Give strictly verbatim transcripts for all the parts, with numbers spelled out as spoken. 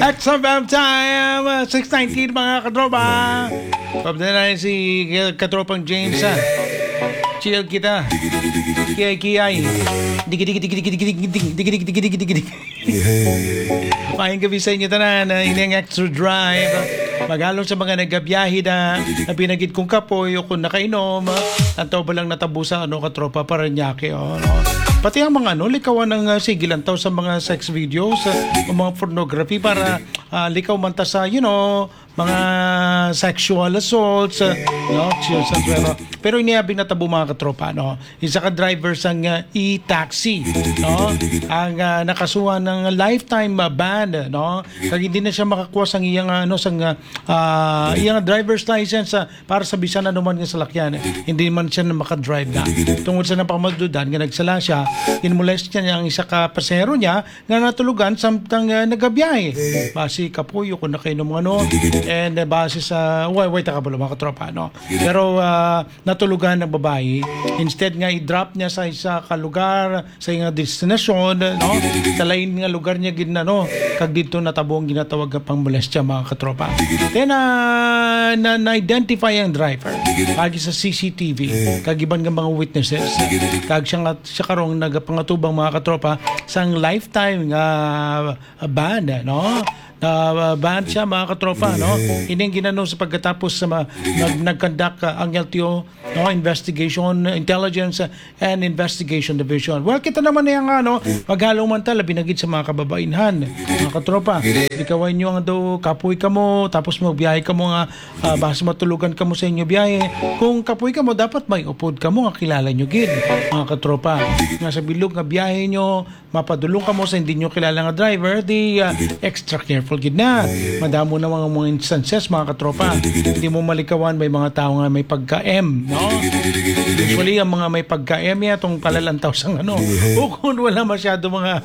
X F M time, uh, six nineteen, mga katropa. Pabda na si, uh, katropang James, ah. Chill kita. Kiyay, kiyay. Digi, digi, digi, digi, digi, digi, digi, digi, digi, digi, digi, digi. Maayong gabi sa inyo tanan, ah, ini ang Extra Drive. Magalong sa mga nagabiyahe na, na pinagid kong kapoy o kung nakainom, ah, ang tao ba lang natabo sa, ano, katropa, Parañaque, oh, no? Pati ang mga, ano, likawan ng, ah, sige lang tao sa mga sex videos, ah, o mga pornography para, ah, likaw man ta sa, you know, mga sexual assaults, ah, no? Sexual assaults, pero, pero iniabing natabo, mga katropa, no? Isa ka driver sang, ah, e-taxi, no? Ang, ah, nakasuhan ng lifetime, ah, ban, no? Kag hindi na siya makakuha sang iyang, ah, ano, sang, ah, ah, iyang driver's license, ah, para sa bisan anuman nga salakyan. Hindi man siya na makadrive na. Tungod sa napamadudan nga nagsala siya, inmolestya niya ang isa ka pasahero niya nga natulugan samtang, ah, nagabiyahe. Basi kapuyo kung nakainom, ano. And, ah, base sa, way, way, taka pala, mga katropa, no? Pero, ah, natulugan ang babayi. Instead nga i-drop niya sa isa ka lugar, sa iyang destinasyon, no? Sa lain nga lugar niya gid na, no? Kag didto natabo ang ginatawag nga pangmolestya, mga katropa. Then, ah, na, na-identify ang driver agi sa C C T V kag iban nga mga witnesses. Kag siya nga, siya karong nagapangatubang, mga katropa, sang lifetime nga, ah, ban, no? Na, ah, ban siya, mga katropa, no? Ining ginano sa pagkatapos sa ma-, nag-, nag-conduct, ah, ang L T O, no? Investigation, Intelligence, ah, and Investigation Division. Well, kita naman niya nga, no? Magalong man ta, labi na gid sa mga kababainhan, mga katropa. Ikaw ay inyo nga daw kapoy kamo, tapos magbiyahe kamo nga, ah, basta matulugan kamo sa inyo biyahe. Kung kapoy kamo, dapat may upod kamo nga kilala nyo gid, mga katropa. Nga sa bilog nga biyahe nyo, mapadulong kamo sa hindi nyo kilala nga driver, di, ah, extra careful gid na. Madamo na mga, mga instances, mga katropa. Hindi mo malikawan, may mga tao nga may pagka-M, no? Usually, ang mga may pagka-M, ya, itong palalantaw sang ano. O kung wala masyado mga,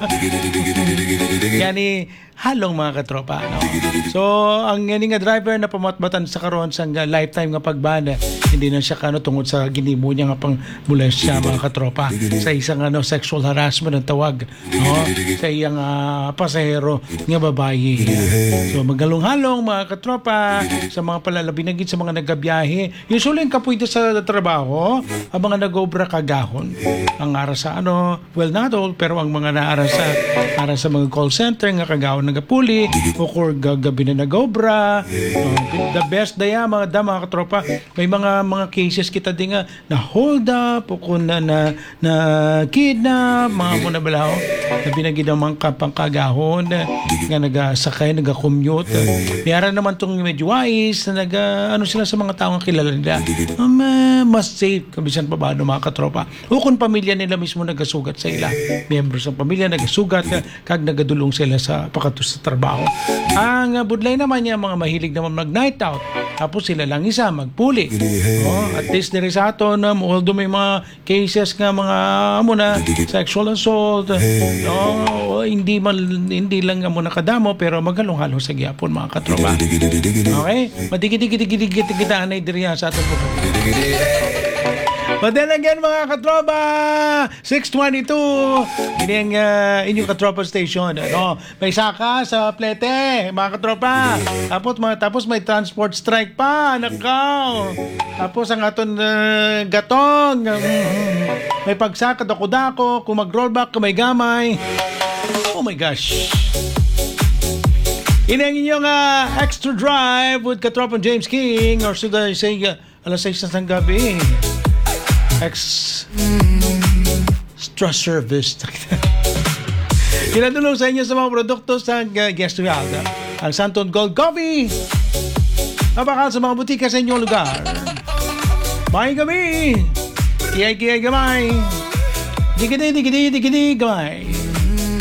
yani, halong, mga katropa, no? So, ang ini nga driver na pamatbatan sa karon sang, ah, lifetime nga pagban, hindi na siya kano tungod sa ginimo niya nga pang molestya, mga katropa, sa isang, ano, sexual harassment ang tawag, no? Sa iyang, ah, pasahero nga babayi. So, magalong-halong, mga katropa, sa mga palalabi na gid sa mga nagabiyahe. Usually, ang kapoy sa trabaho, ang mga nag-obra kagahon. Ang ara sa, ano, well, not all, pero ang mga naara sa, ara sa mga call center nga kagahon nagapuli, o kung ga-, gabi na nag-obra, uh, the best daya, mga dam, mga katropa. May mga, mga cases kita di nga na-hold up, o kung na, na, na-kidnap, mga mo na balaho. Labi na gid ang mga kapangkagahon, eh, nga nagasakay, nagakommute. May ara naman tong medyo wais, na naga, ano sila sa mga tao nga kilala nila. Um, eh, mas safe, kabisan pa ba, ano, mga katropa? O kung pamilya nila mismo nagasugat sa ila. Miyembro sa pamilya nagasugat, eh, kag nagadulong sila sa pakato sa trabaho. Ang, ah, budlay naman niya, mga mahilig naman mag-night out. Tapos sila lang isa, magpuli. Oh, at least diri sa aton, um, although may mga cases nga mga amo na sexual assault, no? O hindi man, hindi lang amo nakadamo, pero magalong-halong sa gyapon, mga katropa. Okay? Madigi-digi-digi-digi kita anay diri sa aton po. But then again, mga katropa, six twenty-two, ini ang, ah, inyong katropa station, ano? May saka sa plete, mga katropa. Tapos, mga, tapos may transport strike pa, nakaw. Tapos ang aton, ah, gatong, mm, may pagsaka dako-dako, kung mag-rollback, kung may gamay. Oh my gosh. Ini ang inyong, ah, Extra Drive with Katropang James King, or should I say, ah, alas sais na sang gabi. Ex-, extra service. Ginadulong sa inyo sa mga produkto sa, uh, Guest World. Ang Santon Gold Coffee. Mabakal sa mga butika sa inyong lugar. Maayong gabi. Kiyay, kiyay, gamay. Digidi, digidi, digidi, gamay.